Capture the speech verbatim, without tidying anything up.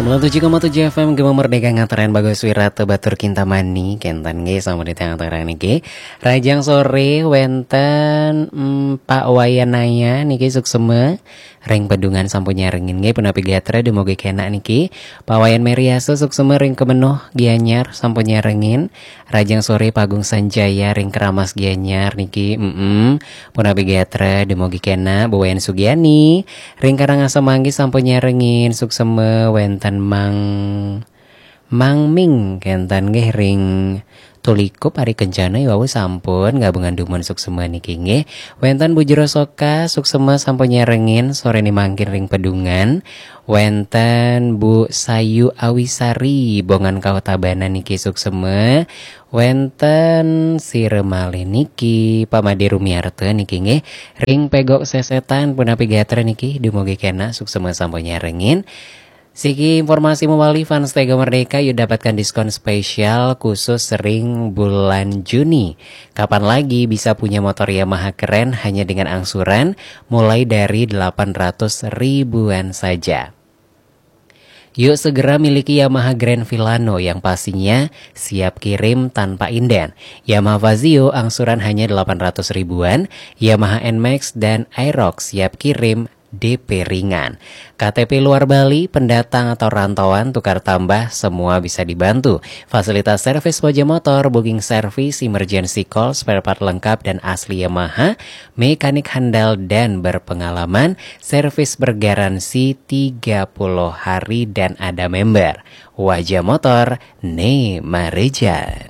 Sembilan tujuh koma tujuh F M Gema Merdeka, ngatren Bagus Wirata Batur Kintamani, kenten nggih sampun ditangtang niki. Rajang sore wenten mm, Pak Wayan Naya niki suksema ring Pedungan sampun nyarengin nggih, punapi gatra dumugi kenak niki. Pak Wayan Meriasa suksema ring Kemenuh Gianyar sampun nyarengin. Rajang sore Pagung Sanjaya ring Keramas Gianyar niki. Mm-mm. Punapi gatra dumugi kenak. Bu Wayan Sugiani ring Karangasem Manggis sampun nyarengin, suksema wenten Mang Mang Ming kenten nggih ring Tulikup ari Kencana iwau sampun gabungan dumun suksema niki nggih. Wenten Bu Jero Soka suksema sampun nyarengin sore ni mangkin ring Pedungan. Wenten Bu Sayu Awisari Bongan Kauh Tabanan niki suksema. Wenten sira malih niki Pak Made Rumiarta niki nggih ring Pegok Sesetan, punapi gatra niki dumugi kenak suksema sampun nyarengin. Siki informasi mawali fans Tega Merdeka, yuk dapatkan diskon spesial khusus ring bulan Juni. Kapan lagi bisa punya motor Yamaha keren hanya dengan angsuran mulai dari delapan ratus ribuan saja. Yuk segera miliki Yamaha Grand Filano yang pastinya siap kirim tanpa inden. Yamaha Fazio angsuran hanya delapan ratus ribuan, Yamaha Nmax dan Aerox siap kirim D P ringan. K T P luar Bali, pendatang atau rantauan, tukar tambah, semua bisa dibantu. Fasilitas servis moja motor, booking service, emergency call, spare part lengkap dan asli Yamaha, mekanik handal dan berpengalaman, servis bergaransi tiga puluh hari dan ada member. Wajah motor, ne mareja.